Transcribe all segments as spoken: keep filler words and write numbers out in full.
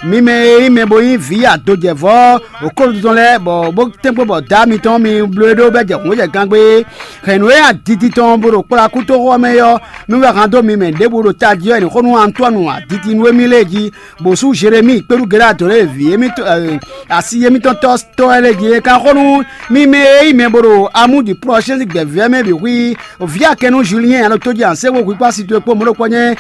Mi mɛ e nyí mɛ bo nyí vǐ adojɛvɔ́ okɔ́ɖuɖu tɔn lɛ́ɛ, bɔ bó tɛ́nkpɔ́n bɔ dǎ mitɔn mi bló e ɖó bɛ́ jɛ hǔn jɛ gangbé, hɛ̌nnu e aditi tɔn bó ɖo kplá kútóxɔ mɛ é ɔ́, mi wɛ han dó mi mɛ ɖěbǔ ɖo tají ɔ́, è nǐ xo nú Antɔ́nu aditi nú émí lée jí, bǒ sú Jeremíi kpéɖú Gelado lɛ́ɛ vǐ émítɔn asi émítɔn tɔ́ tɔ́ wɛ lɛ́ɛ jí é ka xo nú mi mɛ e nyí mɛ bo ɖo amúdi plɔ́ sín gbɛ̌vɛ́ mɛ bǐ xwí vǐ akɛnú Julien alo tójí anséxo hwikpá si towe kpó mɔ̌ ɖokpɔ́ nyɛ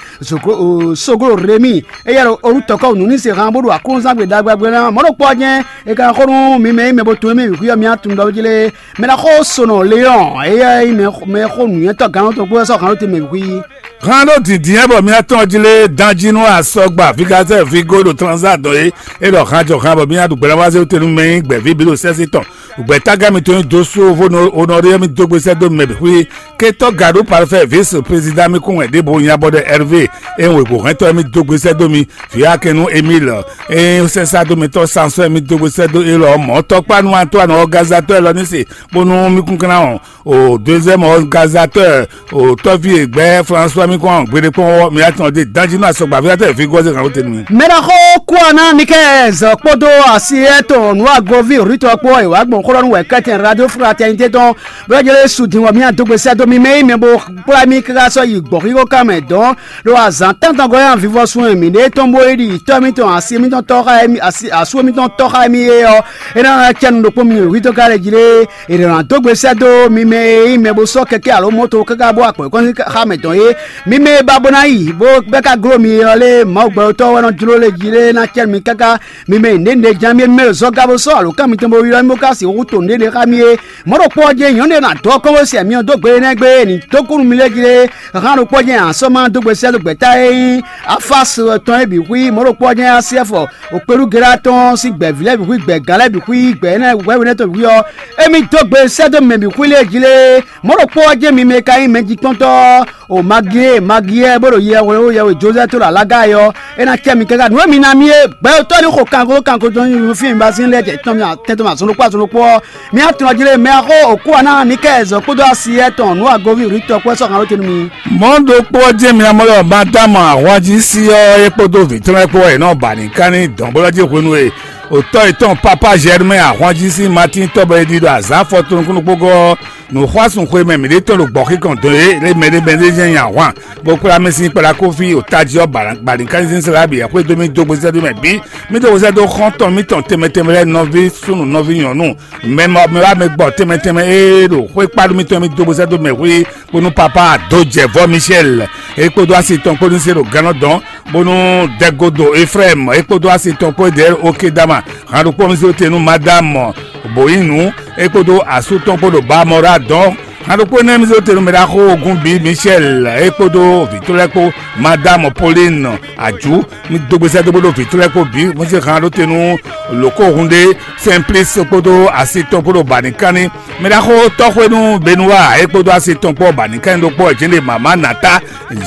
soglo Rémi, éyɛ́ ɖo olùtɔ́kɔ́ nǔ ní se han bó ɖo aklúnzán gbe ɖagbe ná mɔ̌ ɖokpɔ́ nyɛ é ka xo nú mi mɛ e nyí mɛ bo tunwun émí bǐ xwí ɔ́ mi atun ɖɔ jí lé. Mɛ ná xo sonɔ Leɔn, éyɛ́ nyí mɛ xo nǔnywɛ́tɔ́ gannɔtɔn kpó wɛ sɔ́ han ɖó te mɛ bǐ xwí. Han ɖó dǐndín bɔ mía tɔn jí lé danjí nú asɔgba Vigatɛ́ Vigo ɖo Tranzá dɔn é. É ɖɔ han jɔ han bɔ mía ɖu gbɛɖá wá zé wúte nú mɛ nyí gbɛ̌ví bǐ ɖo sɛ́sí tɔn. Gbɛ̌tágán mitɔn nyí Dosó Honoré mì dó gbe sɛ́ dó mɛ bǐ xwí. Ketɔ́ Gaɖú Parfait vice président mì kún wɛ ɖěbǔ nyabɔɖɛ Hervé. É wěgbó hɛntɔ́ mì dó gbe sɛ́ dó mi. Vǐ Akɛnú Émile, é sɛ́sá dó mitɔn Sansɔ́ mì dó gbe sɛ́ dó élɔ́ mɔ̌ tɔkpá nú Antoine ɔgazatɔ́ élɔ́ ní se bónú mì kún kán ɔ́ o deuxième organisateurs o tɔ́ví e gbɛ́ François mi kɔn gbeɖé kpɔ́n ɔ́, mi wá tɔn dé danjí nú asɔgba fí atɛ fi gɔ́ zé kan ko tenu mi. Mɛ ɖaxó Kuana Nikɛz kpódó asi etɔn nú agoví Rutɔ kpó e wǎ gbɔn xó ɖɔ nú wɛ kɛ́tɛn Radio Fraternité tɔn bó jɛ lé su din wɔ mía dó gbe sɛ́ dó mi mɛ yi mɛ bó kplá mì káká sɔ́ yi gbɔ̌xíxó kan mɛ dɔn ɖo azǎn tántɔn gɔ́ nyi vivɔsun e mǐ ɖe tɔn bó yi ɖi tɔ́ mitɔn asi mitɔn tɔ́ xá asú mitɔn tɔ́ xá émí é ɔ́, é ná cɛ́ nu ɖokpó mi hwítɔ́ ká lɛ jí lé. È nɔ ná dó gbe sɛ́ dó mi mɛ e nyí mɛ bó sɔ́ kɛkɛ́ alo moto káká bó agbɔ̌n kɔn sín xá mɛ tɔn é. Mi mɛ e ba bó ná yi bó bɛ́ ka gló mi é ɔ́ lé, Mawu gbɛtɔ́ wɛ nɔ jló lé jí lé ná cɛ́ mi káká. Mi mɛ e nǔɖé nǔɖé ján mi é mi mɛ ɖo zɔ́gá bó sɔ́ alǒkan mitɔn bó ylɔ́ mi bó ka sixú to nǔɖé ɖé xá mi é. Mɔ̌ ɖokpó ɔ́ jɛ́n nyɔ̌nu e ná dó ɔ́ kɔn bó se myɔ dó gbe énɛ́ gbe é ní dó kú nú mi lé jí lé. Han ɖokpó jɛ́n asɔ́ ma dó gbe sɛ́ dó gbɛ̌ta e nyí afásɔ tɔn é bǐ xwí. Mɔ̌ ɖokpó ɔ́ jɛ́n así ɛfɔ okpéɖúgelá tɔn sín gbɛ̌ví lɛ́ɛ bǐ xwí, gbɛ̌gán lɛ́ɛ bǐ xwí, gbɛ̌ énɛ́ hwɛhwɛ énɛ́ tɔn bǐ xwí ɔ́, émí dó gbe sɛ́ dó mɛ bǐ xwí lé jí lé. Mɔ̌ ɖokpó ɔ́ jɛ́n mi mɛ e ka nyí mɛjitɔ́ntɔ́ o Magiyɛ́ɛ Magiyɛ́ɛ bó ɖo yɛhweɖó yɛhwe Jozɛ́ɛ tó ɖo alága é ɔ́, é ná cɛ mi káká nǔ e mi ná mì é. Gbɛtɔ́ ní xo kanko kanko tɔn nyi fí mi ba sín lɛ́ɛ jɛ tɔn mi atɛn tɔn mi azɔn ɖokpó azɔn ɖokpó ɔ́, mi atɔn jí lé mɛ axó òkú aná ní kɛ zɔ kpódó asi etɔn nǔ agoví rǐtɔ kpó sɔ́ kan ɖó te nú mi. Mɔ̌ ɖokpó ɔ́ jɛ́n mi ná mɔ ɖɔ Madámu ahwanjí sí ɔ́ é kpódó vǐ tɔn lɛ́ɛ kpó wɛ è nɔ ba nǐ kán ní dɔ̌nblɔ́ jí hwenu e òtɔ́ yětɔn Papa Germain ahwanjí sín Matín tɔ́ bɔ è ɖi ɖo azǎn afɔtɔn nukúnnú kpó gɔ́ ɔ́, nǔxwásún xwemɛ mǐɖítɔn ɖo gbɔ̌xíkɔn dɔn é lé mɛɖé mɛɖé jɛ́n nyi ahwan, bó kplá mì sín kplá kófí o tají ɔ́, bǎlínkánzín sla bǐ xwedó mì dó gbezɛ́ dó mɛ bǐ. Mì dó gbezɛ́ dó xɔ́ntɔn mǐtɔn tɛnmɛ tɛnmɛ lɛ́ɛ, nɔví súnnu nɔví nyɔ̌nu, mɛ mɛ wá mɛ gbɔ tɛnmɛ tɛnmɛ e ɖo xwé kpáɖu mǐtɔn mì dó gbezɛ́ dó mɛ xwé, bónú Papa Dojɛvɔ Michel é kpódó asi tɔn kpó ní se ɖo gannɔ dɔn, bónú Dɛgodo Efrayim é kpódó asi tɔn kpó Dɛɛl Okedama, han ɖokpó mì zé te nú Madame Boyinu é kpódó asú tɔn kpó ɖo Bamɔra dɔn. Han ɖokpó énɛ́ mì zé te nú mɛ ɖaxó ogun bǐ Michel é kpódó vǐ tɔn lɛ́ɛ kpó, Madame Pauline Adju, mì dó gbesɛ dó bó ɖo vǐ tɔn lɛ́ɛ kpó bǐ, mì zé han ɖó te nú lǒkó hun ɖé Simplice kpódó asi tɔn kpó ɖo bǎ ní kánní. Mɛ ɖaxó tɔ́xwénú Benua é kpódó asi tɔn kpó bǎ ní kánní ɖokpó ɔ́ jɛ́n ɖe mama Nata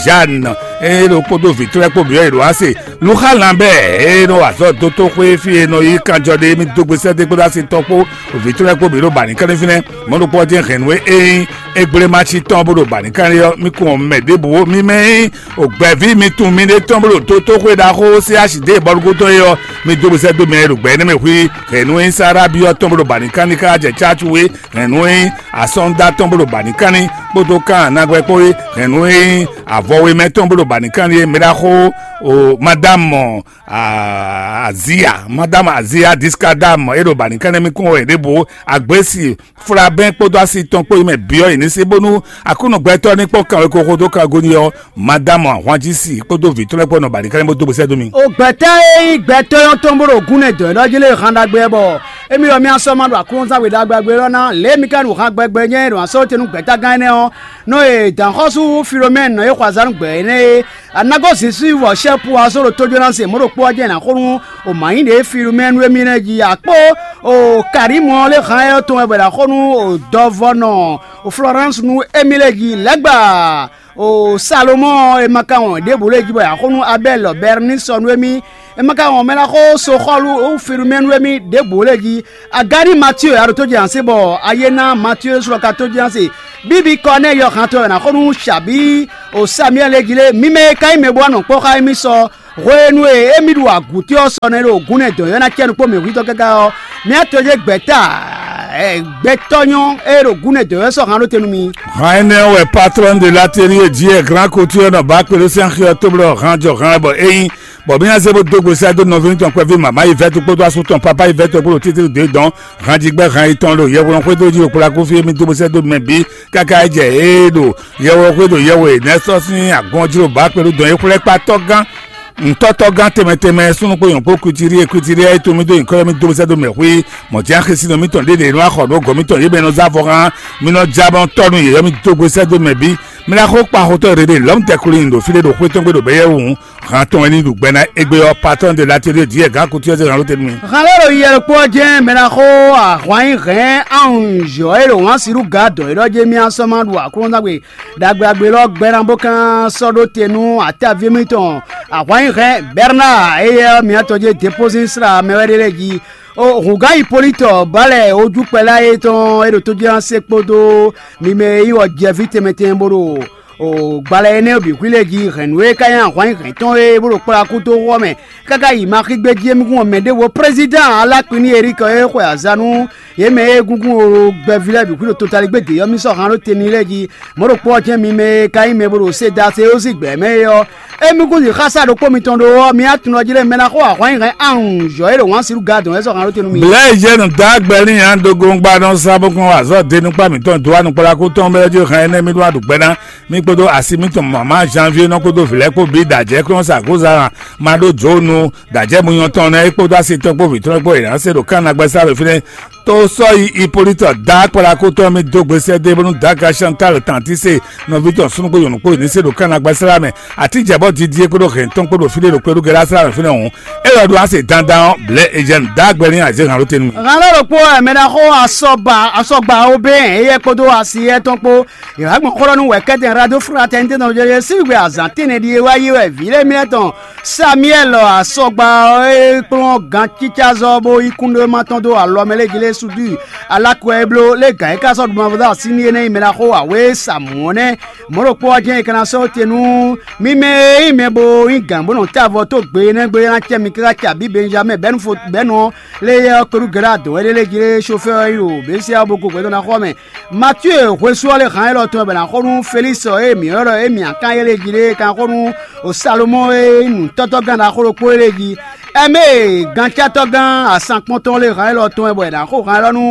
Jeanne é ɖo kpódó vǐ tɔn lɛ́ɛ kpó bǐ ɔ́, è ɖo ase Luxa Lambert é nɔ wa azɔ̌ dó tó xwé fí e nɔ yí kanjɔ ɖe mì dó gbesɛ dó kpódó asi tɔn kpó vǐ tɔn lɛ́ɛ kpó bǐ ɖo bǎ ní kánní fínɛ́. Mɔ̌ ɖokpó ɔ́ jɛ́n hɛ̌nnu e é nyí égblémaci tɔn bó ɖo bǎ ní kánní ɔ́, mì kún ɔ́ mɛ ɖěbǔ ó. Mi mɛ e nyí gbɛ̌ví mi tunwun miɖée tɔn bó ɖo dotóxwé ɖaxó C H D bɔlugúdo é ɔ́, mi dó gbesɛ dó mɛ e ɖo gbɛ énɛ́ mɛ xwí hɛ̌nnu e nyí Sárábi ɔ́ tɔn bó ɖo bǎ ní kánní káká jɛ cácu é, hɛ̌nnu e nyí asɔ́nda tɔn bó ɖo bǎ ní kánní kpódó kan nagwɛ kpó é, hɛ̌nnu e nyí avɔwemɛ tɔn bó ɖo bǎ ní kánní é. Mɛ ɖaxó o Madame Azia, Madame Azia Diskadam é ɖo bǎ ní kánní mì kún wɛ ɖěbǔ. Agběsi Flabɛn kpódó asi tɔn kpó yi mɛ byɔ́ yě ní sí bónú Aklúnɔ gbɛtɔ́ ní kpɔ́n kanwekóxó dó kango ní ɔ́, Madamu ahwanjí si kpódó vǐ tɔn lɛ́ɛ kpó nɔ ba ɖi kɛ́ɖɛ́ bó dó gbesɛ dó mì. O gbɛ̌tɛ́ e nyí gbɛtɔ́ nyɔ́ntɔn bó ɖo gúnɛ dɔ̌ élɔ́ jí lé han ɖagbe ɔ́ bɔ émí ɔ́ mì sɔ́ ma ɖo aklúnɔzán we ɖagbe ɔ́ ná lě e mi ka ɖo han gbɛgbɛ nyɛ ɖo asɔ́ te nú gbɛ̌tágán énɛ́ ɔ́, nɔ e dǎnxɔ́sú Filomɛ́ni nɔ e xɔ azǎn nú gbɛ̌ énɛ́ é, a nǎ gosín Sílvɔ Sɛ́pu ɔ́ só ɖo tójó ná se mɔ̌ ɖokpó ɔ́ jɛ́n è nǎ xo nú o mǎ nyí ɖě Filomɛ́ni e mì lɛ́ jí a kpó o Karímu ɔ́ lé han ɛ tɔn wɛ bɔ è nǎ xo nú o dɔvɔnɔ o Florɛ́nsi nú émí lɛ́ɛ jí lɛ̌gbaa. O Salomɔ́ɔ ɔ́, è ma ka wɔn ɖěbǔ lě jí bɔ è nǎ xo nú Abɛ́li lɔ Bɛrnisɔ nú émí, è ma ka wɔn mɛ ná xó Soxɔ́lu Filumɛ́nu émí ɖěbǔ lě jí. Agáni Matío ɔ́, a ɖo tó jɛ ansi bɔ a yé ná Matío ɖésú lɔ ka tó jɛ ansi. Bíbí Kɔnɛ́yi ɔ́ hantɔ wɛ è nǎ xó nú Shabí o Samiyɛ́li lě jí lé, mi mɛ e ka nyí mɛ bó wá nɔ kpɔ́ xá émí sɔ Hwenu e émí ɖo agǔti ɔ́ sɔ nɛ́ ɖo gúnɛ dɔ̌n ɔ́ ná cɛ nukpó mǐ hwítɔ́ káká ɔ́, mǐ á tɔjé gbɛ̌ta gbɛtɔ́ nyɔ́ e ɖo gúnɛ dɔ̌n ɔ́ sɔ́ han ɖó te nú mi. Han énɛ́ wɛ patron de l'atelier Dieu grand couture nɔ ba kpé ɖó sɛ́n xyɔ tóblɔ han jɔ han bɔ é nyí bɔ mǐ ná zé bó dó gbe sɛ́ dó nɔví tɔn kpɛví mama yi vɛ́tu kpódó asú tɔn papa yi vɛ́tu kpódó títí dó dɔn han jí gbɛ́ han yi tɔn ɖo yɛhwlɔ́n xwédó jí ɖo kplá kú fí émí dó bó sɛ́ dó mɛ bǐ káká é jɛ é ɖo yɛhwlɔ́n xwédó yɛhwe nɛ́ sɔ́ sín agɔn jí ɖo bǎ kpé ɖó dɔn é xwlɛ́ kpá tɔ́gán ntɔ́tɔ́gán tɛnmɛ tɛnmɛ súnnu kpó nyɔ̌ kpó kwitiɖie kwitiɖie e tún mì dó nyǐkɔ ylɔ́ mì dó sɛ́ dó mɛ xwí mɔ̌ jɛ́n xisínɔ mítɔn ɖě ɖě nɔ axɔ nǔ gɔ̌ mítɔn yě mɛ nɔ zá vɔ hán mí nɔ já bɔ tɔ́ nú yě ylɔ́ mì dó gbe sɛ́ dó mɛ bǐ. Mí ná xó kpa xotɔ́ ɖě ɖě lɔ̌m tɛkulí nyi ɖo fí ɖé ɖo xwé tɔn gbe ɖo bɛ́yɛ́ wǔ hán tɔn wɛ ní ɖu gbɛ ná égbé ɔ́ patɔ́n de latelier Dieu gǎn kutu ɔ́ zé hǎn ló tɛ́ nú mì. Hǎn lɛ́ɛ ɖo yiyɛ ɖokpó ɔ́ jɛ́n mɛ ná xó ahwan nyi hɛ̌n anjɔ̌ e ɖo wǎn sirú ga dɔ̌ é ɖɔ jɛ́n mì asɔ́ ma ɖu aklúnɔzángbe ɖagbe agbe lɔ gbɛ ná bó kan sɔ́ ɖó te nú atáví mitɔn. Ahwan nyi hɛ̌n Bɛrnáa éyɛ́ ɔ́ miatɔn jɛ́n Depozín slá mɛ wɛ ɖé lɛ́ɛ jí. Hǔngán Hipolitɔ bálɛ ojúkpɛlá e tɔn e ɖo tójínasé kpódó mi mɛ e nyí wɔjɛví tɛnmɛ tɛnmɛ bó ɖo gbalɛ énɛ́ bǐ xwí lɛ́ɛ jí hɛ̌nnu e ka nyí ahwan nyi hɛ̌n tɔn e bó ɖo kplá kú dó xú ɔ́ mɛ káká yi ma xí gbé jí émí kún ɔ mɛ ɖěvo. Prézidán Alakwini Erikɔ e xwe azǎn nú yě mɛ e gúngún o gbɛví lɛ́ɛ bǐ xwí ɖo totaligbé dě ɔ́ mì sɔ́ han ɖó te n'i lɛ́ɛ jí. Mɔ̌ ɖokpó ɔ́ jɛ́n mi mɛ e ka nyí mɛ bó ɖo Sedasewosi gbɛ̌ mɛ é ɔ́, émí kún yi xá sá ɖokpó mitɔn ɖó ɔ́, mi á tunwun jí lɛ́ɛ mɛ ná xó ahwan nyi hɛn anjɔ̌ e ɖo wǎn sirú gadɔn wɛ sɔ́ han ɖó te nú mi. Blɛ̌ yi jɛ nǔ dá gbɛ n'i ǎ dó gongba nɔ sá bó kún wa azɔ̌ de nukpá mǐtɔn dó wá nukplakú tɔn bɛ́ jí hɛn énɛ́ mì ɖó wá ɖu gbɛ ná mì kpódó asi mǐtɔn mama Janvier nɔ kpódó vǐ lɛ́ɛ kpó bǐ ɖo ajɛ̌ kplɔ́n sa gǒzan ma ɖó jǒnu ɖo ajɛ́ munyɔ́ tɔn nɛ́ é kpódó asi tɔn kpó vǐ tɔn kpó è nǎ se ɖo kán nagbɛ́ sá ɖo fínɛ́. Tó sɔ́ yi Ipolitɔ dá kplakótɔ́ mì dó gbe sɛ́ dó bónú Daga Chantal Tantise nɔví tɔn súnnu kpó nyɔ̌nu kpó ní se ɖo kán nagbɛ́ sá mɛ. Atijɛ̌bɔ́ Didie kpódó hɛn tɔn kpó ɖo fí ɖé ɖo kpéɖú Gɛlásá mɛ fínɛ́ hǔn. É lɔ ɖó ase dandan ɔ́, blɛ̌ Ejɛ́nu dá gbɛ n'i azě hǎn ɖó te nú mì. Hǎn lɛ́ɛ ɖokpó wɛ mɛ ná xó asɔgba asɔgba Obɛ́n éyɛ́ kpódó asi yɛ́ tɔn kpó. Yě wá gbɔn xó ɖɔ nú wɛ̌kɛ́tɛn Radofratɛnitɛ́ tɔn jɛ sín gbe azǎn tɛ́nnɛ ɖíe wá yi wɛ vǐ lɛ́ɛ mǐtɔn Samiyɛ́li asɔgba ɔ́ e kplɔ́n gancícázɔ́ bó yí kúnɖéma tɔn dó alɔ mɛ lɛ́ɛ jí lɛ́ɛ sú dú i. Alakɔ e bló lé gǎn e ka sɔ́ ɖu mavɔ dó así n'i é ná nyí mɛ ná xó awě Samɔ̌ nɛ́. Mɔ̌ ɖokpó ɔ́ jɛ́n è ka ná sɔ́ te nú mì mɛ e nyí mɛ bo nyí gǎn bó nɔ tá avɔ tó gbe énɛ́ gbe ɔ́ ná cɛ mi káká cɛ abǐ Benjamɛ́ɛ bɛ́nu fo bɛ́nu ɔ́ lé yɛ ɔ́ kpé ɖu gɛ̌ ɖo adɔ̌ wɛ ɖé lɛ́ɛ jí lé sofɛ́ ɔ́ yi ɖo Běsiya bó gó gbɛtɔ́ ná xɔ mɛ. Matíe hwesú ɔ́ lé hǎn élɔ́ tɔn wɛ bɔ è nǎ xo nú Felísi e mǐ ylɔ́ ɖɔ émí Akáyɛ́ lé jí lé kan xo nú Salomɔ́ɔ e nyí nǔtɔ́tɔ́gán ɖaxó ɖokpó é lé jí. Ɛmɛ́ e gancátɔ́gán asankpɔ́ntɔn lé hǎn élɔ́ tɔn wɛ bɔ è nǎ xo hǎn élɔ́ nú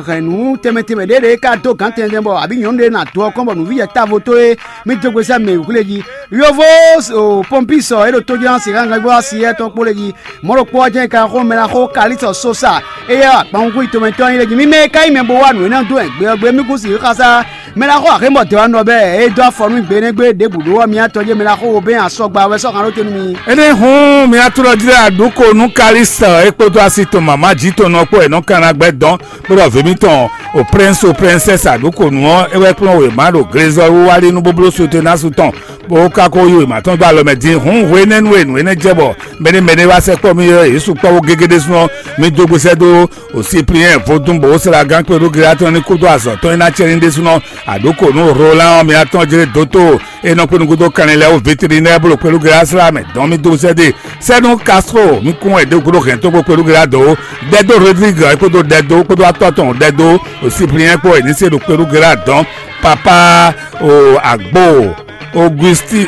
hɛ̌nnu tɛnmɛ tɛnmɛ ɖěɖě e ka dó gǎn tɛnmɛ bɔ abǐ nyɔ̌nu ɖé ná dó ɔ́ kɔn bɔ nǔvǐjɛ távo tó é mì dó gbe sɛ́ mɛ wǔ lé jí. Yovo Ponpísɔ e ɖo tójínɔ́ siká gangbó asi yɛ́ tɔn kpó lé jí. Mɔ̌ ɖokpó ɔ́ jɛ́n è ka xo mɛ ná xó Kalísɔ Sosa, éyɛ́ akpawunkwín tɔn mɛ tɔn nyí lé jí. Mì mɛ e ka nyí mɛ bo wá nǔ énɛ́ dó wɛ gbe ɔ́ gbe mì kún sixú xá sá. Mɛ ná xɔ axé mɔ dɛ̌ wá nɔ bɛ́ e dó afɔ nú gbe énɛ́ gbe ɖěbǔ ɖó ɔ́, mi atɔn jɛ́n mɛ ná xo wo bɛ́ asɔgba wɛ sɔ́ han ɖó te nú mi. Énɛ́ hǔn mi atúlɔ jí lɛ́ɛ aɖǔ ko nú Kalísɔ é kpódó asi tɔn mama jǐ tɔn nɔ kpó è nɔ kan ná gbɛ́ dɔn kpódó vǐ mitɔn o prɛ́nsi o prɛ́nsɛ́si aɖǔ ko nǔ ɔ́, é wɛ kplɔ́n wěma ɖo glezɔ́ wíwá lí nú bóbló sotenásu tɔn bó ka ko yí wěma tɔn dó alɔ mɛ din. Hǔn hwenɛ́nu e nǔ énɛ́ jɛ bɔ mɛɖé mɛɖé wá sɛkpɔ́ mì ɔ́, yě sukpɔ́ wú gégé ɖésúnɔ. Mi dó gbe sɛ́ dó o Sipliyɛ́n vodún bó slá gán kpé ɖó Gilátɔn ní kúdó azɔ̌ tɔn e ná cɛ ní ɖésúnɔ. Aɖǒ kǒ nú Rolan ɔ́, mi atɔn jlé dótó e nɔ kpé nukúndó kanlin lɛ́ɛ wú véterinɛ́ɛ bó ɖo kpé ɖó Gilá slá mɛ dɔn mi dó sɛ́ dé. Sɛ́ nú Kastro mi kún wɛ ɖě gúdo hɛn tó kpó kpé ɖó Gilá dó. Dɛdó Rodrigue ɔ́, é kpódó Dɛdó kpódó atɔ́ tɔn Dɛdó o Sipliyɛ́n kpó wɛ ní se ɖo kpé ɖó Gilá dɔn. Papa o Agbo Augustin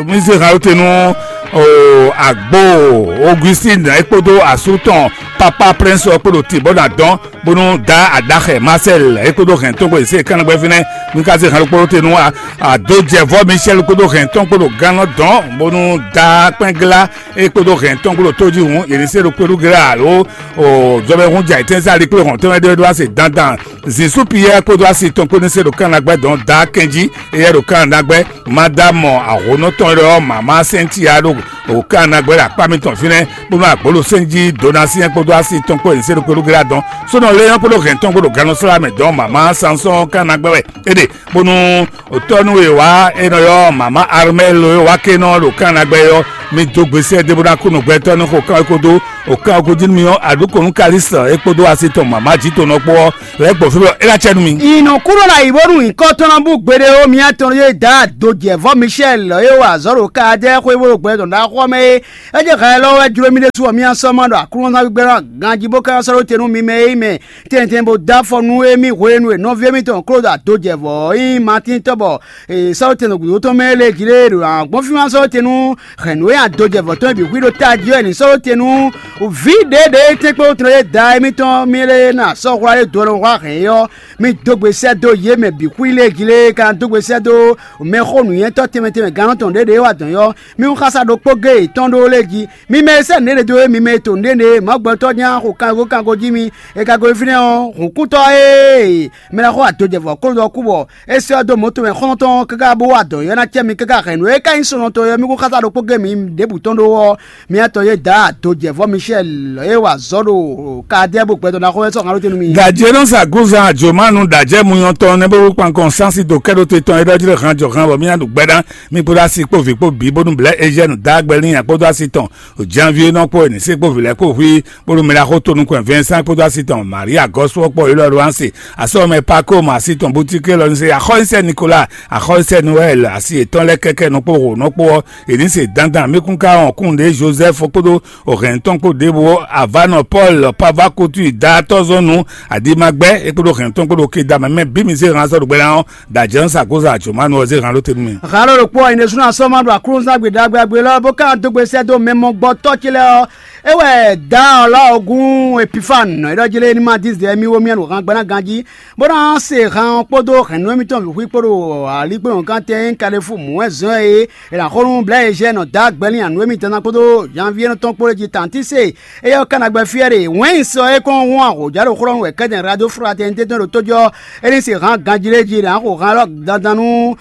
mi se hàn te nú o Agbo Augustin é kpódó asú tɔn Papa Prince ɔ́ kpódó tibɔ́ ná dɔn bónú da adaxɛ Marcel é kpódó hɛn tɔn kpó se kánná gbɛ́ fínɛ́. Mi ka se hàn kpódó te nú adójɛvɔ Michel kpódó hɛn tɔn kpódó gánɔ dɔn bónú da kpɛngla é kpódó hɛn tɔn kpódó tójihun yě ní se ɖo kpódó gla alo o jɔbɛhun jɛ ayǐtɛ́nsá ali kplé hɔn tɔn mɛ ɖé ɖó ase dandan Zisu Piyɛ́ɛ kpódó asi tɔn kpó ní se ɖo kánnagbɛ́ dɔn da kɛnjí. Éyɛ́ ɖo kánnagbɛ́ ma dó amɔ ahonɔ tɔn lɛ́ɛ ɔ́ mama sɛntia ɖo kánnagbɛ́ ɖo akpá mitɔn fínɛ́ bónú agbǒlosɛnjí Donasiɛn kpódó asi tɔn kpó ní se ɖo kpódó gla dɔn sónɔ Lé nyɔ́ kpódó hɛn tɔn kpódó gannɔsla mɛ dɔn mama Sansɔn kan ná gbɛ wɛ é ɖe, bónú òtɔ́ nú e wá é nɔ ylɔ́ mama Armel e wá ké nɔ ɖo kan ná gbɛ ɔ́, mi dó gbe sɛ́ dé bó ná kú nǔgbɛtɔ́ ní xo kan é kpódó òkan ɔ́ gúdo nú mi ɔ́, aɖǔkɔn nú Kalísita é kpódó asi tɔn mama jǐ tɔn nɔ kpó ɔ́ lɛ́ gbɔn fí bɔ é ná cɛ nú mi. Ìnɔkúnɔ ná yi bónú nyǐkɔ tɔn ná bú gbeɖé ó. Mía tɔn yé dá dojɛvɔ́ Michel e wa azɔ̌ ɖo Kaladɛ́ɛ xwé bó ɖo gbɛ tɔn ɖaxó ɔ́ mɛ é. É jɛ hɛn lɔ wɛ jló mì ɖésú ɔ́, mía sɔ́ ma ɖo Aklúnɔ ná gbígbɛ́ ná ganjí bó ka sɔ́ ɖó te nú mi mɛ e nyí mɛ tɛntɛn bó dó afɔ nú émí hwenu e nɔví émítɔn Klódu adojɛvɔ́ ɔ́ nyí Matín tɔ́ bɔ è sɔ́ ɖó te nɔ gǔdo tɔn mɛ é lɛ́ɛ jí lé ɖo agbɔ́n fí ma sɔ́ ɖó te nú hɛ̌nnu e adojɛvɔ́ tɔn e bǐ xwí ɖo tají ɔ́ è nǐ sɔ́ ɖó te nú vǐ ɖěɖě tɛ́nkpɔ́n tɔn e da émítɔn mì lɛ́ɛ ná sɔ́ hwlá ɖé do ɔ́ nɔ hwlá hɛ̌n é ɔ́. Mi dó gbe sɛ́ dó yě mɛ bǐ xwí lé jí lé, ka dó gbe sɛ́ dó mɛxó nǔnywɛ́tɔ́ tɛnmɛ tɛnmɛ gannɔ tɔn ɖěɖě e wa dɔ̌n ɔ́, mi xása ɖokpó géé yětɔn ɖó lé jí. Mi mɛ e sɛ́ nǔɖé ɖe dó é, mi mɛ e to nǔɖé ɖe, Mawu gbɛtɔ́ nya xo kango kango jí mi, e ka gosín fínɛ́ ɔ́, hǔnkútɔ́ ee mɛ ná xo adojɛvɔ́ kó ɖɔ kú bɔ é sɛ́ ɔ́ dó mɔ̌ tɔn mɛ xɔ́ntɔn káká bó wa dɔ̌n ɔ́ ná cɛ mi káká hɛ̌nnu e ka nyí sunɔtɔn ɔ́, mi kún xása ɖokpó géé mi ɖěbǔ tɔn ɖó ɔ́, miatɔn yé dǎ dojɛvɔ́ Michel e wa azɔ̌ ɖo Kadɛ́ bó gbɛtɔ́ ná xo wɛ sɔ́ hǎn ɖó te nú mi. Dajé nɔ sa gúzan àjòmánu dajɛ muyɔn tɔn nɛ́ bó kpankɔn sánsì dó kɛ́ɖó te tɔn é ɖɔ jí ɖo han jɔ han bɔ mí ná ɖu gbɛ́ ná mí kpódó asi kpó vǐ kpó bǐ bónú blɛ̌ Eziɛnu dó agbɛ́ n'i kpódó asi tɔn Janvier nɔ kpó e ní sí kpó vǐ lɛ́ɛ kpó hu i kpódó mɛ ɖaxó tonukun Vincent kpódó asi tɔn Maria Gɔ́sú ɔ́ kpó Elɔ́ɔ Anse asɔ́ mɛ Paco mɔ asi tɔn Boutique lɔ ní se Axɔ́sɛ Nicolas Axɔ́sɛ Noël asi yětɔn lɛ́ɛ kɛ́kɛ́ nɔ kpó ho nɔ kpó ɔ́ è nǐ se dandan mí kún ka wɔn kún ɖě Joseph kpódó o hɛn tɔn kpó ɖěvo Avanɔ Paul Pavakutu da tɔ́zɔ́nnu Adimagbɛ́ é kpódó hɛn tɔn kpódó Kedama mɛ bǐ mi zé han sɔ́ ɖo gbɛ ná ɔ́, da jɛ̌n sa kó sa jǒmánu ɔ́ zé han ɖó te nú mì. Halo ɖokpó ɔ́, nyɛ ɖésúnɔ asɔ́ ma ɖo aklúnɔzán gbe ɖagbe agbe lɔ bó ka dó gbe sɛ́ dó mɛ mɔgbɔtɔ́ ce lɛ́ɛ ɔ́. É wɛ dǎ ɔ́ lɔ ɔ́ gún Epifan, é ɖɔ jí lé ní ma dín zɛ mì wó mì ɖo han gbaná ganjí, bó ná se han ɔ́ kpódó hɛ̌nnu émítɔn bǐ xwí kpó ɖo alígbɔ́nɔ́gán tɛn e nyí Kalefú mǔ wɛ zɔ́n ɛ é. È nǎ xo nú Blɛ̌ Ezhɛ́ɛ nɔ dó agbɛ́ n'i nǔ e mi dán ná kpódó Janvier nɔ tɔn kpó lé jí Tantíse, éyɛ́ ɔ́ ka ná gbɛ́ fí wɛ ɖe. Wɛ̌n sɔ é kɔn hún ahǒjá ɖo xlɔ́ nú wɛ kɛ́dɛn Radoflá tɛn tɛ́ tɔn ɖo tójɔ, é ní se hán ganjí lé jí, è nǎ xo hán élɔ́ dandan nú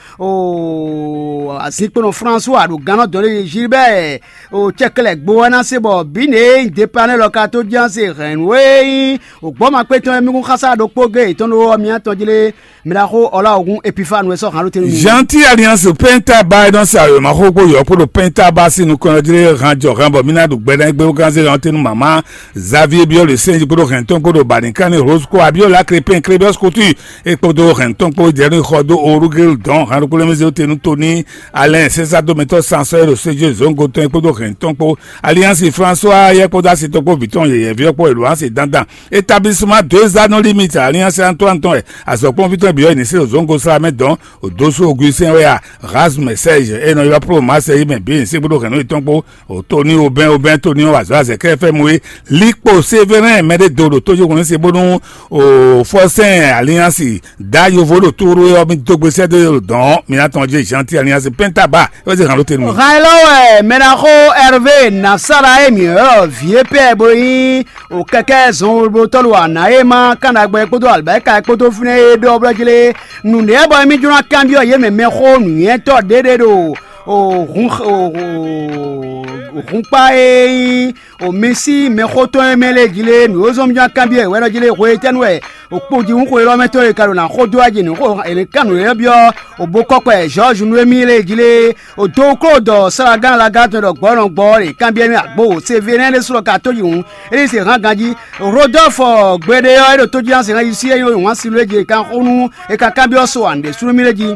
azinkponɔ Fransua ɖo gannɔ́ dɔ̌n ɖé Gilbert o cɛkɛlɛ gbo wɛ ná se bɔ bǐ ně e nyí Depanɛ́ lɔ ka tó ján se hɛ̌nnu e nyí ògbɔ́makpé tɔn e mí kún xásá ɖokpó géé yětɔn ɖó ɔ́, mǐ atɔn jí lé. Mɛ ɖaxó Ɔlá Ogun Epifanu wɛ sɔ́ hǎn ɖó te nú mi. Jean ti Alliance Penta ba e nɔ sa wěma xó kpó yɔ̌ kpó ɖo Penta ba sín nukɔn ɔ́ jí lé han jɔ han bɔ mí ná ɖu gbɛ ná gbé bó gán zé hǎn tɛ́ nú mama Xavier Biɔ́ le sɛ́n jí kpódó hɛn tɔn kpódó Banikani Rose kpó Abiola Crépin Crébius Couture é kpódó hɛn tɔn kpó jɛ nú xɔ dó Orugel dɔn hǎn ɖokpó lɛ́ mɛ zé te nú Tony Alain sɛ́sá dómɛtɔ́ sansɔ́ é ɖo séjé zǒngo tɔn é kpódó hɛn tɔn kpó Alliance François yɛ kpódó asi tɔn kpó vǐ tɔn yɛyɛ̌ví ɔ́ kpó é ɖo asi dandan Établissement deux anneaux limite Alliance Antoine tɔn wɛ azɔ̌kplɔ́nví tɔn bǐ ɔ́ è nǐ se ɖo zǒngo sla mɛ dɔn Odosu Augustin wɛ a Rasmus Serge e nɔ ylɔ́ Pro Marseille mɛ bǐ e nyí sɛ́gbóɖó hɛ̌nnu yětɔn kpó Tony Aubin Aubin Tony ɔ́ wazɔ̌ azɛ̌kɛ́ fɛ́ mɔ é Likpo Sévérin mɛɖé do ɖo tójóhɔn ní se bónú Fɔsɛ́n Alliance dǎ yovo ɖo tóɖó ɔ́ mì dó gbe sɛ́ dó dɔn mǐ ná tɔn jí Gentil Alliance Pɛ́ntaba é wɛ zé hǎn ɖó te nú mì. Hàn é lɔ wɛ mɛ ná xó Hervé Nasara e mǐ ylɔ́ vǐ e pɛ bó nyí o kɛkɛ zɔnwolotɔ́ ɖo ana e ma kan ɖagbe kpódó alibɛ́ka kpódó fínɛ́ e ɖɔ blɔ́ jí lé nǔɖé bɔ émí jló ná kanbyɔ́ yě mɛ mɛxó nǔnywɛ́tɔ́ ɖéɖé ɖo o hun o hunkpá e nyí o mi sí mɛxó tɔn e mɛ lé jí lé nǔ e zɔ́n mí jló ná kanbyɔ́ yě wɛ ɖɔ jí lé hwe étɛ́nu wɛ o kpodihún xwe élɔ́ mɛ tɔn e ka ɖo ná xó dó wá jí nǔ xó è nǐ kan nǔ énɛ́ byɔ́ o bo kɔkɔ ɛ George nú émí lé jí lé O dó kló dɔ slágán lagán tɔn ɖɔ gbɔ̌ nɔ gbɔ ɔ́ ɖe kanbyɔ́ mì agbo wǒ se vé nɛ́ ɖésú lɔ ka tó yi hǔn é ní se hán ganjí. Rodolphe gbeɖé ɔ́ é ɖo tó jí hán se hán yi sí é nyí wǎn si ló é jí è kan xó nú è kan kanbyɔ́ so ǎ nǔɖé sú nú mì lé jí.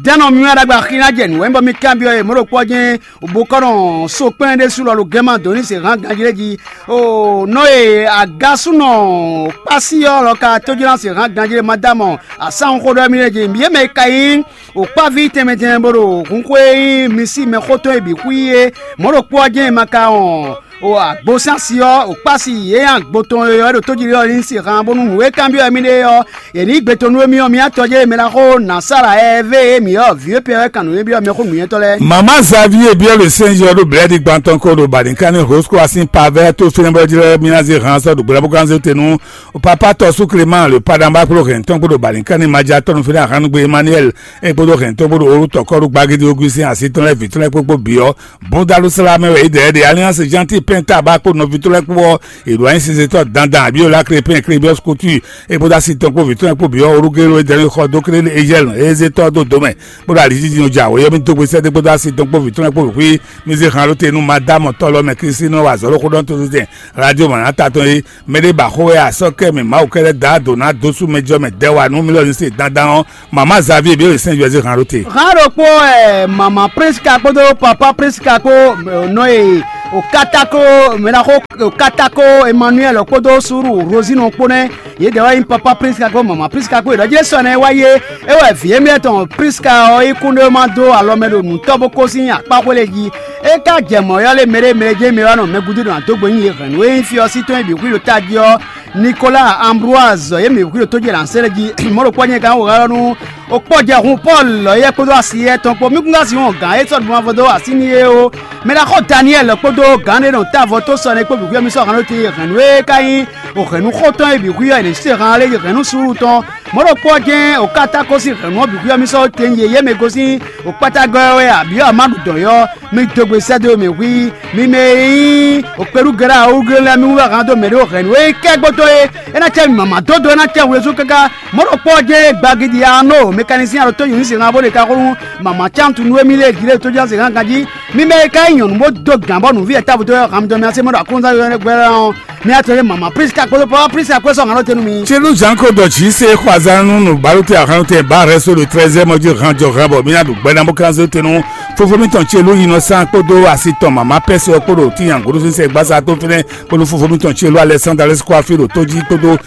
Dɛ́nɔ myɔ ɖagbe axi ná jɛ nǔ wɛ bɔ mì kanbyɔ́ e mɔ̌ ɖo kpɔ́ jɛ́n bó kɔ́ nɔ so kpɛ́n ɖésú lɔ ɖo gɛ́n ma dǒ ní se hán ganjí lé jí. O nɔ e agásúnɔ kpásí ɔ́ lɔ ka tó jí hán se hán ganjí lé ma dá mɔ asánxó ɖɔ mì lé jí. Yě mɛ e ka nyí O kpáví tɛnmɛ tɛnmɛ bó ɖo hun xwé e nyí mi sí mɛxó tɔn e bǐ xwí é, mɔ̌ ɖokpó ɔ́ jɛ́n è ma ka wɔn o agbosánsi ɔ́, o kpási yě nyi agbo tɔn e ɔ́ ɖo tójijɛ ɔ́ ní se han bónú nǔ e kanbyɔ́ wɛ mì ɖe ɔ́, è nǐ gbe tɔn nú émí ɔ́, mì atɔ́ jɛ́n mɛ ná xó nǎ sa ɖa ɛ vé e mǐ ɔ́ vǐ e pɛ wɛ kan nǔ e byɔ́ mɛxó nǔnywɛ́tɔ́ lɛ́ɛ. Mama Xavier byɔ́ ɖo sɛ́nzɔ́ ɖo blɛ̌ɖi gban tɔn ko ɖo Balikani Rosco asin pavɛ tó fínɛ́ bɔ jí lɛ́ mì ná zé han sɔ́ ɖo gbɛɖábúgánzé te nú Papa tɔ́ sú Clément le Paɖanbá kpódó hɛn tɔn kpódó Balikani Maja tɔnu fínɛ́ Ahanugbe Emmanuel é kpódó hɛn tɔn kpódó Olú tɔkɔ́ɖu Gbagidi Augustin asi tɔn lɛ́ɛ vǐ tɔn lɛ́ɛ kpókpó bǐ ɔ́, búndálú sla mɛ wɛ é ɖɛ̌ ɖe Alliance Gentil Pɛnta ba kpó nɔví tɔn lɛ́ɛ kpó ɔ́, è ɖo anyi sinsɛntɔ́ dandan Abiola Krépin Krébiɔ́s Couture, é kpódó asi tɔn kpó vǐ tɔn lɛ́ɛ kpó bǐ ɔ́, Olugélo é dɛ́ xɔ dó klé Ezɛ́ɛl Ezétɔ́ dó dǒ mɛ, kpódó alijíjínɔ jɛ awǒ yɔ́ mì dó gbe sɛ́dó kpódó asi tɔn kpó vǐ tɔn lɛ́ɛ kpó bǐ xwí. Mì zé han ɖó te nú Madámɔ tɔ́ lɔ mɛ Klísínɔ wa azɔ̌ ɖo xó ɖɔ tó tɛn Radio Mɔ̌nata tɔn é. Mɛ ɖé ba xó wɛ a sɔ́ kɛ mɛ Mawu kɛ lɛ́ da dǒ ná dó sú mɛ jɔ mɛ dɛ́ wa nú mì lɔ ní se dandan ɔ́, Mama Xavier bí ó sɛn Jɔzé han ɖó te. Hán ɖokpó ɛ mama Priska kpódó papa Priska kpó nɔ e o katako mɛɖaxó o katako Emmanuel kpódó suru Rosino kpó nɛ́. Yědɛɛ wɛ nyí papa Priska kpó mama Priska kpó yě ɖɔ jlé sɔ nɛ́ wá yé. É wɛ vǐ émí tɔn Priska ɔ́ yi kún ɖó ma dó alɔ mɛ ɖo nǔtɔ́ bó kó sín akpáxwé lɛ́ɛ jí. É ka jɛ mɔ̌ ɔ́ lé mɛɖé mɛɖé jɛ́n mɛ wá nɔ mɛ gúdo ɖo adógbe nyi yě hɛ̌nnu e nyí fí ɔ́ sí tɔn e bǐ xwí ɖo tají ɔ́. Nicolas Ambroise yě mǐ xwí ɖo tójé lǎnsɛ́lɛ jí mɔ̌ ɖokpó nyɛ gán wǒ nú o kpɔ́jɛhun Pɔ́lu lɔ̌yɛ kpódó asi yɛ́ tɔn kpó mí kún ká sixú gǎn e sɔ́ ɖu mavɔ dó así n'i é ó. Mɛ ɖaxó Daniɛ́li kpódó gǎn ɖé nɔ távo tó sɔ́ nɛ́ kpó bǐ xwíyɔ́ mì sɔ́ hɛn ɖó te hɛ̌nnu e ka nyí o hɛ̌nnu xótɔn e bǐ xwíyɔ́ è nǐ se han lé hɛ̌nnu suúlu tɔn. Mɔ̌ ɖokpó ɔ́ jɛ́n o ka tá kɔ́ sín hɛ̌nnu ɔ́ bǐ xwíyɔ́ mì sɔ́ te nyí yě mɛ gosín o kpátágɔ́ ɔ́ wɛ abǐ ɔ́ ma ɖu dɔ̌n ɔ́, mi dó gbe sɛ́ dó mɛ hwí. Mi mɛ e nyí okpéɖúgɛ́ɖá awúgɛ́ lɛ́ɛ mi wú wɛ hán dó mɛ ɖé o hɛ̌nnu e kɛ́ gbótó é. É ná cɛ mì mama dódó, é ná cɛ wezú káká. Mɔ̌ ɖokpó ɔ́ jɛ́n e gbagidi Arno mɛkanisín alo tónyǔnu se hán bó ɖe ka xó nú mama cántunu e mì lée jí lée tójá se hán ganjí. Mi mɛ e ka nyí nyɔ̌nu bó dó gǎn bɔ nǔví e távo dó ɔ́ han mi dɔn mi así mɔ ɖo aklúnɔzán yɔyɔ́ gbɛ́ ɔ́, mi atɔn ɖé mama Priska kpódó papa Priska kpó sɔ́ hǎn ɖó te nú mi. Célu Jean Claude Jí se xɔ azán nú nǔbálótɛ ahánútɛ ba rɛ́ só ɖo trɛ́zɛ́ mɔ jí han jɔ han bɔ mí ná ɖu gbɛ́ ná bó kán zé te nú fofó mítɔn Célu Innocent kpódó asi tɔn mama Pɛ́sɛ ɔ́ kpó ɖo tínyangúɖú sínsɛ́n gbásá tó fínɛ́ kpódó fofó mítɔn Célu Alexandre Alexis kó afí ɖo tó jí kpódó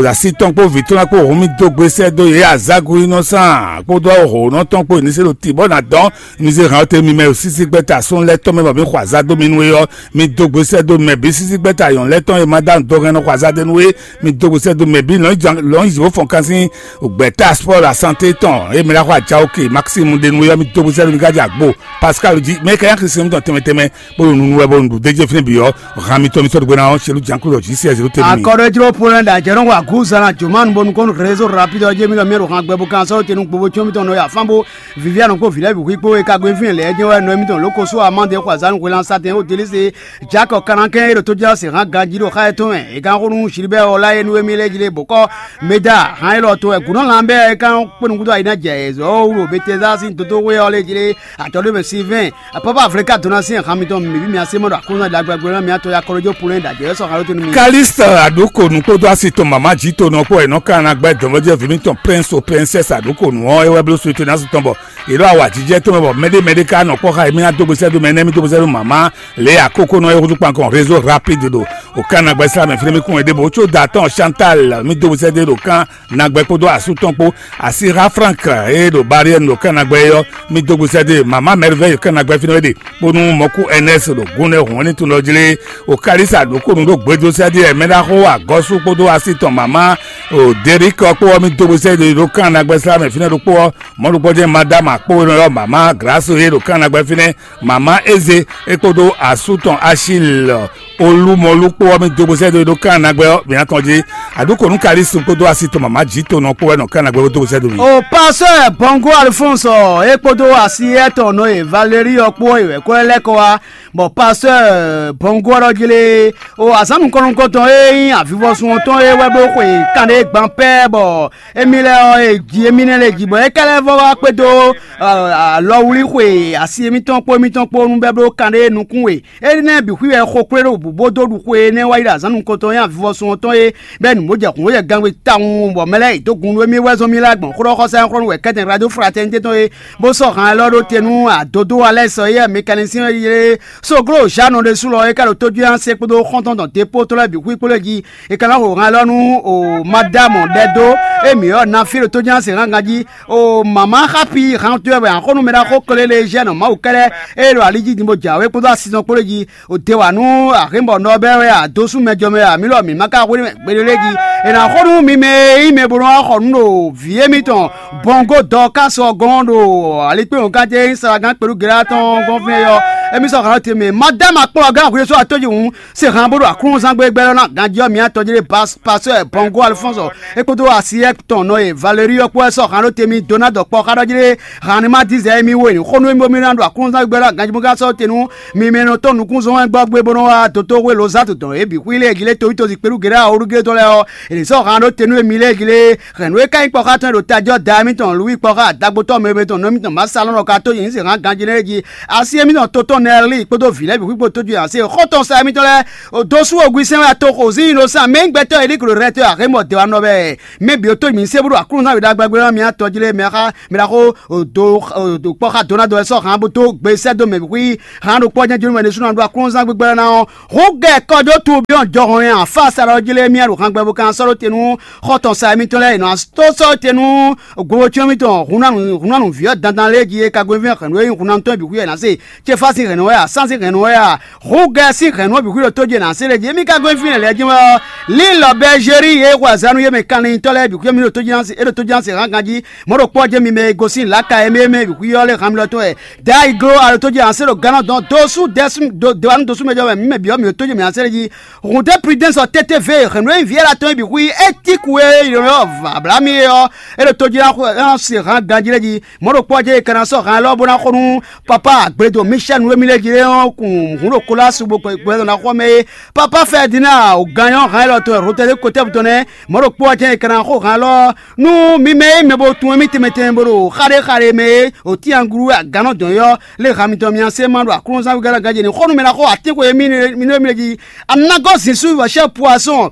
asi tɔn kpó vǐ tɔn ná kpó hǔn mì dó gbe sɛ́ dó yě azágu Innocent kpódó hǒnɔ tɔn kpó ní se ɖo tǐ bɔ ná dɔn mi zé hǎn ɔ́ te mi mɛ sísí gbɛ́ta sɔ́n lɛ́ɛ tɔn mɛ bɔ mǐ xɔ azá dó mi nú é ɔ́, mi dó gbe sɛ́ dó mɛ bǐ sísí gbɛ́ta yɔ̌n lɛ́ɛ tɔn e ma dá nǔ dó hɛn nɔ xɔ azá dó nú é. Mi dó gbe sɛ́ dó mɛ bǐ lɔ̌nyizɔ́fɔn kan sín gbɛ̌ta spɔ́ asante tɔn e mi ná xɔ ajawo ke Maxime ɖe nú é ɔ́, mi dó gbe sɛ́ dó mi ká jɛ agbo Pascal jí mɛ ka nyí Kristian mitɔn tɛnmɛ tɛnmɛ bó ɖo nunu wɛ bó ɖo nǔɖé jɛ fínɛ́ bǐ ɔ́, han mitɔn mitɔn ɖo gbe ná ɔ́, Celu Jankuɖɔ jí sɛ zéro tɛnmɛ. Akɔɖɔ jló Polɛn ɖo ajɛ nɔ wa gǔzan ná jǒmánu bónú kɔn réseau rapide ɔ́ jɛ mì lɔ mì ɖo han gbɛ bó kan sɔ́ tenu gbogbo có mitɔn nɔ ya fán bó Viviane kpó vǐ lɛ́ɛ bǐ xwí kpó e ka gbe fínɛ́ lɛ́ɛ jɛ́n wɛ nɔ émítɔn lǒ ko sú amá ɖě xɔ azǎn xwelán sátɛn ó Delíse Jacques Kanakɛn e ɖo tójá se hán ganjí ɖo xá etɔn mɛ. È kan xó nú Gilbert Ɔláyé nú émí lɛ́ɛ jí lé bǒ kɔ́ Meda hán élɔ́ tɔn wɛ gǔnɔ lan bɛ́ é kan kpé nukúntɔ́ ayǐ ná jɛ zɔ̌ wú ɖo Betesda sín dodóxwé ɔ́ lé jí lé atɔ́ɖó mɛ Silvɛ́n. Apɔ́pɔ́ Aflika dó ná sín han mitɔn mǐ bǐ mì así mɔ ɖo aklúnɔ ɖagbe agblo ná mì atɔ ya kɔlɔjó Pulɛ́n ɖo ajɛ̌ sɔ́ xalo tɛnu mì. Kalixte Aɖokonu kpódó asi tɔn mama jǐ to nɔ kpó wɛ nɔ ka ná gbɛ́ dɔ̌nvɔ́jɛ́ vǐ mitɔn Prince o Princess Aɖokonu ɔ́ é wɛ bló suite ná su tɔn bɔ yě ɖo awǎjijɛ tɔn mɛ bɔ mɛɖé mɛɖé ka nɔ kpɔ́ xá yě mì ná dó gbe sɛ́ dó mɛ énɛ́ mì dó gbe sɛ́ dó mama lě e akókó nɔ é húzú kpankɔn réseau rapide ɖo o kan ná gbɛ́ slá mɛ fínɛ́ mì kún wɛ ɖěbǔ có da tɔn Chantal mì dó gbe sɛ́ dó ɖo kan nagbɛ kpódó asú tɔn kpó. Asíxa Frank e ɖo Bariɛnu ɖo Kanagbɛ é ɔ́, mi dó gbe sɛ́ dó e mama Mɛrivɛ́ ɖo Kanagbɛ fínɛ́ é ɖe, bónú mɔ̌kú Ɛnɛ́si ɖo gúnlɛ́ hǔn ɔ́ ní tun lɔ jlé. O Kalisa ɖokónu ɖó gbedo sɛ́ dó e mɛɖaxó agɔ́sú kpódó así tɔn mama o Derikɔ kpó ɔ́, mi dó gbe sɛ́ dó e ɖo Kanagbɛ slá mɛ fínɛ́ ɖokpó ɔ́, mɔ̌ ɖokpó jɛ́n Madáma kpó e nɔ ylɔ́ mama Glǎsu é ɖo Kanagbɛ fínɛ́, mama Eze é kpódó asú tɔn Achil Olumɔlu kpó ɔ́, mì dó gbe sɛ́ dó e ɖó kan nagbɛ ɔ́, mǐ ná tɔn jí. Aɖúkò nú Kalixte kpódó asi tɔn mama jǐ to nɔ kpó wɛ nɔ kan nagbɛ bó dó gbe sɛ́ dó mì. O pasteur Bongo Alphonse ɔ́, é kpódó asi étɔn nɔ e Valérie ɔ́ kpó ɔ́, è wɛ kó lɛ́ kɔ wá, bɔ pasteur Bongo ɔ́ ɖɔ jí lé, o azǎn nukɔn nukɔntɔn e nyí avivɔsun ɔ́ tɔn é wɛ bó xwe kanɖé gban pɛ́ bɔ émí lɛ́ɛ ɔ́, è ji émí nɛ́ lɛ́ɛ jí bɔ é ka lɛ́ vɔ wá kpédó alɔwlíxwe asi émítɔn kpó émítɔn kpó nú bɛ́ bló kanɖé nukún we. Énɛ́ bǐ xwí wɛ xo kplé ɖo bǔ bó dó ɖu xwe énɛ́ wá yi ɖo azǎn nukɔntɔn nyi avivɔsun ɔ́ tɔn é, bɔ é nu bó jɛ hǔn bó jɛ gangbe tawun, bɔ mɛ lɛ́ɛ yi dó gun nú émí wɛ zɔ́n mì lɛ́ gbɔn xó ɖɔ xɔsá nyɔ́xɔ́ nú wɛ kɛ́tɛn Radio Fraternité tɔn é, bó sɔ́ han élɔ́ ɖó te nú adodó Alɛ́sɔ éyɛ́ mɛkanisín e ylé Soglo Zǎnɔ ɖésú lɔ é ka ɖo tójúɛ́n se kpódó xɔ́ntɔn tɔn dépó tɔn lɛ́ɛ bǐ xwí kpó lɛ́ɛ jí. È ka ná xo han élɔ́ nú o Madámɔ ɖɛ dó e mǐ ylɔ́ ná fí ɖo tójúɛ́n se hángan jí. O mama xapi han towe wɛ axɔ́nú mɛ ɖaxó Klelezhiɛnu Mawu kɛ́ɖɛ́ e ɖo ali jí din bó jǎwe kpódó asi tɔn kpó lɛ́ɛ jí. O de wǎ nú axǐnbɔnɔ bɛ́ wɛ a dó sú mɛ jɔ mɛ a mǐ lɔ mǐ ma ka hwlí mɛ gbeɖé lɛ́ɛ jí. È nǎ xo nú mi mɛ e nyí mɛ bo nɔ wá xɔ nǔ ɖo vǐ émítɔn Bɔngo Dɔkási ɔ́ gɔ́n ɖo alikpéwɔnkan ce e nyí Salagán kpelú Gelá tɔn ɔ́ gɔ́n fínɛ́ ɔ́. Émí sɔ́ hǎn te mɛ Madame akplɔ́gán hwesó atójihún se hǎn bó ɖo aklúnzán gbégbé lɔ ná ganjí ɔ́ mǐ atɔ́ jlé Pasteur Bongo Alphonse é kpódó asiyɛ́ tɔn nɔ e Valérie ɔ́ kpó wɛ sɔ́ hǎn ɖó te mì dó ná dɔ kpɔ́ xá ɖɔ jlé hǎn ní ma dín zɛ émí wo e ní xó nú émí bómí ná ɖo aklúnzán gbégbé lɔ ná ganjí bó ka sɔ́ te nú mi mɛ nɔ tɔn nukúnzɔ́n wɛ gbɔ gbé bó nɔ́ wá dotó hwe lozatu tɔn é bǐ xwí lé jí lé towítɔ́ zinkpéɖu geɖé awɔɖúgé tɔn lɛ́ɛ ɔ́, è nǐ sɔ́ hǎn ɖó te nú émí lɛ́ɛ jí lé hɛ̌nnu e ka nyí kpɔ́ xá tɔn e ɖo tají ɔ́ da émítɔn Lwíi kpɔ́ xá dagbo tɔn mɛ tɔn nɔ émítɔn Masalɔ́n ka tó nyi nǔ sin hǎn ganjí lɛ́ɛ jí. Asi émítɔn Tótɔn Nɛlíi kpódó vǐ lɛ́ɛ bǐ xwígbo tójú ǎ se xɔ́ntɔn sa émítɔn lɛ́ɛ dó sú ogun sɛ́n wɛ ato xo zín nɔ sán mɛ nyí gbɛtɔ́ e ɖíklo rɛtɔ́ axémɔ dɛ wa nɔ bɛɛ. Mɛ bǐ ó tó nyi se bó ɖo Aklúnɔzán wěɖagbɛgbɛ ɔ́ mì atɔ jí lé mɛ xá mɛ ɖaxó ɖo kpɔ́ xá Donado wɛ sɔ́ hǎn bó dó gbe sɛ́ dó mɛ bǐ xwí hǎn ɖokpó ɔ́ jɛ́n jónú mɛ ɖésú ná ɖó Aklúnɔzán gbígbɛ́ ná ɔ́. Hǔn gɛ kɔjó tun byɔ́ jɔhɔn nyi afá sa ɖɔ jí lé mì ɖo hǎn gbɛ bó kan sɔ́ ɖó te nú xɔ́ntɔn sa émítɔn lɛ́ɛ è nɔ tó sɔ́ te nú Gbowocyɔ́n mitɔn hunnánu vǐ ɔ́ dandan lɛ́ɛ jí e ka gɔ́n fínɛ́ hɛ̌nnu e nyí hunnanutɔ́ bǐ xwí wɛ ná se. Céfá sín hɛ̌nnu wɛ a? Sán sín hɛ̌nnu wɛ a? Húgɛ sín hɛ̌nnu ɔ́ bǐ xwí ɖo tójé ná se lɛ́ɛ jí. Émí ka gɔ́n fínɛ́ lɛ́ɛ jí wɛ ɔ́, lílɔ Bɛzéri e xwe azǎn nú yé mɛ kanlin tɔ́ lɛ́ɛ bǐ xwí mì ɖo tójé ná se é ɖo tójé ná se hán ganjí. Mɔ̌ ɖokpó ɔ́ jɛ́n mi mɛ e gosín lǎka e mɛ mɛ bǐ xwí ɔ́ lɛ́ han mi lɔ tɔn wɛ. Dayi gló a ɖo tójé ná se ɖo gánɔ dɔn dó sú dɛ́ sú dó dé wá nú dó sú mɛ jɔ wɛ mǐ mɛ bǐ ɔ́ mǐ ɖo tójé mǐ ná se lɛ́ɛ jí. Hǔn dé Prudence ɔ́ tete vě hɛ̌nnu e nyí vǐ Ɛla tɔn e bǐ xwí étíku e ylɔ́ Ablahami é ɔ́, é ɖo tojlá xwe ɔ́ se hǎn ganjí lɛ́ɛ jí. Mɔ̌ ɖokpó ɔ́ jɛ́n è ka ná sɔ́ hǎn élɔ́ bó ná xo nú Papa Agbledo Michel nú émí lɛ́ɛ jí é ɔ́ kun hǔn ɖo Kolásu bó gbɛdɔ́ ná xɔ mɛ é. Papa Ferdinand ò gan nyɔ́ hǎn élɔ́ tɔn Rotɛdé kotɛ́bú tɔn nɛ́. Mɔ̌ ɖokpó ɔ́ jɛ́n è ka ná xo hǎn élɔ́ nú mi mɛ e mɛ bo tunwun émí tɛnmɛ tɛnmɛ bó ɖo xaɖé xaɖé mɛ é, ò tín anglu e agannɔ dɔn é ɔ́, lě han mitɔn mi ná se ma ɖo Aklúnɔzán wegɔ́ ná ganjé ní xó nú mɛ ná xo atín xwe émí mi ɖo mí lé jí. Anagɔ́ zǐn sú vɔ̌ chɛ́ poisson,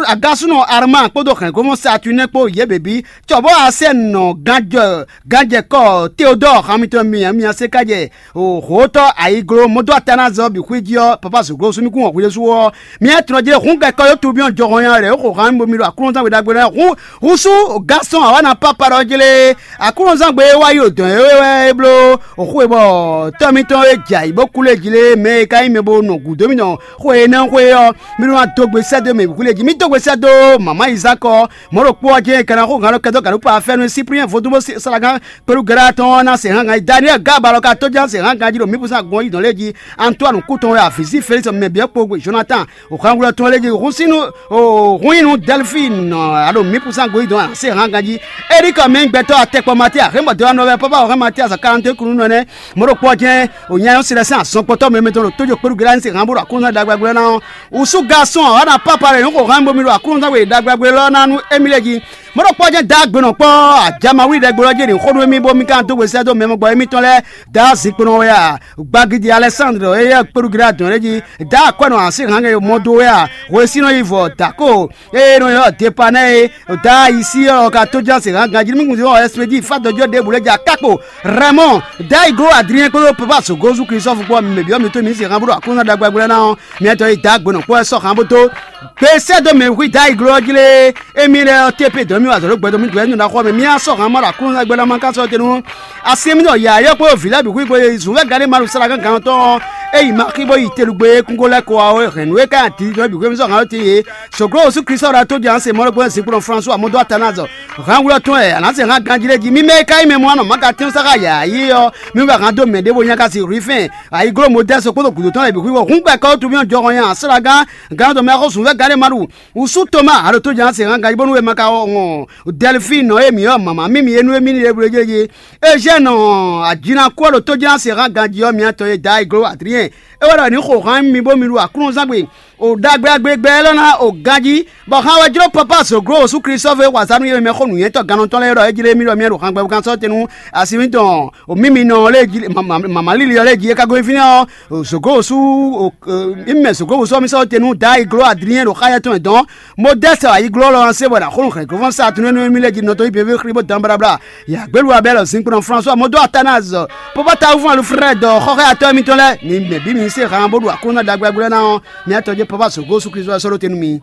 agasúnɔ Arma kpódó hɛ̌ngbɔ́mɔ Saturnin kpó yě běbí, cɔbɔ́ Asɛ́nɔ ganjɛ ganjɛkɔ Teodɔ́ɔ han mitɔn mi mi ná se kájɛ hǒtɔ́ ayiglo mɔdó Atanazɔ bǐ xwé jí ɔ́, papa zǒglo sú mì kún wɔ̌ hwi ɖésú ɔ́, mi ná tlɔ́ jlé hǔn gɛkɔ yó tubyɔ́n jɔhɔn nya lɛ̌ xo han bo mi ɖo Aklúnɔzán we ɖagbe lɛ́ɛ hǔn húsú gásɔn awǎna pápá ɖɔ jlé Aklúnɔzán gbe e wá yi ɖo dɔ̌n é wɛ é bló xwe bɔ tɔ́ mitɔn e jɛ ayǐ bó kú lé jí lé mɛ e ka nyí mɛ bo nɔ gǔdo mitɔn xwe énɛ́ xwe ɔ́, mi ɖó ná dó gbe sɛ́ dó mɛ bǐ xwí lé jí. Mi dó gbe sɛ́ dó mama Izákɔ, mɔ̌ ɖokpó ɔ́ jɛ́n è ka ná xó gǎn ɖɔ kɛdó gǎn ɖó kpa fɛ́nú Síplíɛn vodún bó salagan kpéɖú gɛ́ɖá tɔn ɔ́ ná se hán gǎn yi. Daniɛ́li gǎ abalɔ ka tó ján se hán ganjí ɖo mǐ púsán gbɔn yí dɔn lé jí. Antoine kú tɔn wɛ avǐ sí Félísi mɛ bǐ kpo Jonatán Hwanglɔ́ tɔn lé jí hun sín nú hun nyi nú Dɛlfín alo mǐ púsán goyí dɔn se hán ganjí. Erika mɛ gbɛtɔ́ atɛkpɔ Matíya hɛn bɔ dɔn nɔ wɛ pɔ́pá hɛn Matíya sa kalante kunu nɔ nɛ́. Mɔ̌ ɖokpó ɔ́ jɛ́n wò nya nyɔ́ si lɛ́ sín azɔn kpɔtɔ́ mɛ mɛtɔn ɖo tójó kpéɖu gɛ́ɖá ní se hán bó ɖo aklúnɔ́ ɖagbe ná ɔ́. Wǔsú gasɔn ɔ́ ná pápa ɖe nǔ xo hán bo mi ɖo aklúnɔ́ we ɖagbe lɔ ná nú émí lɛ́ɛ jí. Mɔ̌ ɖokpó ɔ́ jɛ́n dǎ gbe nɔ kpɔ́ ajamawlí ɖɛgbe ɔ́ jɛ́n ɖi xó nú émí bó mí ka dó we sɛ́ dó mɛ mɔgbɔ émítɔn lɛ́ɛ dǎ zinkpo nɔ wɛ a. Gbagidi Alɛsándro e yɛ kpéɖu gílé adɔn lɛ́ɛ jí dǎ akwɛ́ nɔ así hǎngɛ mɔ dó wɛ a. Hwesínɔ yi vɔ dǎ ko ée nɔ ylɔ́ Depanɛ́ é dǎ ayisí ɔ́ ka tó ján se hǎn ganjí nú mí kún zé ɔ́ ɛspédi fá dɔjɔ́ ɖěbǔ lɛ́ɛ jí akákpo Rɛmɔ́ dǎ yi gló Adriɛn kpódó Papa Zogozu Kristofu kpó mǐ mɛ byɔ́ mǐ tó mǐ se hǎn bó ɖo aklúnɔ́ ɖagbe lɛ́ɛ ná ɔ́, mǐtɔn yi dǎ gbe nɔ kpɔ́ wɛ sɔ́ hǎn bó dó gbe sɛ́ dó mɛ hwí dǎ yi gló ɔ́ jí lé. Émí lɛ́ɛ ɔ́, té pé dɔ̌n mì wa azɔ̌ ɖó gbɛdɔ́ mì dɔ̌ nú ná xɔ mɛ mì á sɔ́ hǎn má ɖo aklúnɔ gbɛ́ ná má ka sɔ́ te nú asi émí nɔ yǎyɔ́ kpó vǐ lɛ́ɛ bǐ xwí kpó zǔn wɛ gǎɖé ma ɖo sala gán gǎn tɔn ɔ́, é yi ma xí bó yi telugbe e kúngo lɛ́ɛ kɔ wá ó hɛn nǔ e ka nyi adi tɔn bǐ xwé mì sɔ́ hǎn ɔ́ te yě. Soglo Osu Kristo ɔ́ ɖo tó jɛ ǎn se mɔ̌ ɖokpó Zinkplɔ́n François mɔdó Atanazo hǎn wlɔ́ tɔn wɛ ǎ ná se hǎn ganjí lɛ́ɛ jí. Mì mɛ e ka nyí mɛ mɔ anɔ mǎ ka tɛ́n sá xá yǎyí ɔ́, mì wɛ hǎn dó mɛ ɖěvo nyá ka si Rifɛ́n, ayǐgló Modɛ́si kpódó gǔdo tɔn lɛ́ɛ bǐ xwí wɔ hǔn gbɛkɔ́ ó tu mì jɔhɔn nya slágán gǎn dɔn mɛ xó sǔn fɛ́ gǎɖé ma ɖu. Wǔsú Toma a ɖo tó jɛ́n ná se hán ganjí bónú è ma ka wɔn Dɛlifíi nɔ e mǐ ɔ́ mǎmá mímí é nú émí ní ɖěbǔ é jí. Ezɛ́nɔ ajinakú ɔ́ ɖo tó jɛ́n ná se hán ganjí ɔ́, mǐtɔn e Dayigló Adriɛn é wɛ ɖɔ ní xo hán mi bó mi ɖu Aklúnɔzán gbe. O ɖagbeɖagbe gbɛ élɔ́ ná o ganjí, bɔ hán wɛ jló Papa zǒgló Wǒsú Klísu ɔ́ fé xwazá nú yě mɛ xó nǔnywɛ́tɔ́ gannɔtɔ́ lɛ́ɛ ɖɔ é jlé mì ɖɔ mì ɖo hán gbɛbú kan sɔ́ te nú asi mǐtɔn o mímínɔ lɛ́ɛ jí mama líli ɔ́ lɛ́ɛ jí é ka gosín fínɛ́ ɔ́, zǒgó wosú mí mɛ zǒgó wosú ɔ́ mì sɔ́ te nú Dayi gló Adrien ɖo xá yɛtɔn mɛ dɔn. Modɛ́sɛ ayigló ɔ́ lɔ se bɔ ɖo axɔ́nú hɛ̌nglɔ́fɔ́n sa tunwunú émí lɛ́ɛ jí nɔtɔ́ yí běbé xlí bó dan bláblá. Yǎgbélu abɛ́ lɔ zinkpo nɔ François modó Atanaz pɔ́pɔ́ Alfred xɔxɔ́yatɔ́ émítɔn lɛ́ɛ mi mɛ bǐ mi se han bó ɖo aklúnɔ ɖagbeɖagbe lɛ́ɛ ná ɔ́, mi atɔ́ jɛ pɔ́pɔ́ zǒgó Jezu Klísu wɛ sɔ́ ɖó te nú mi.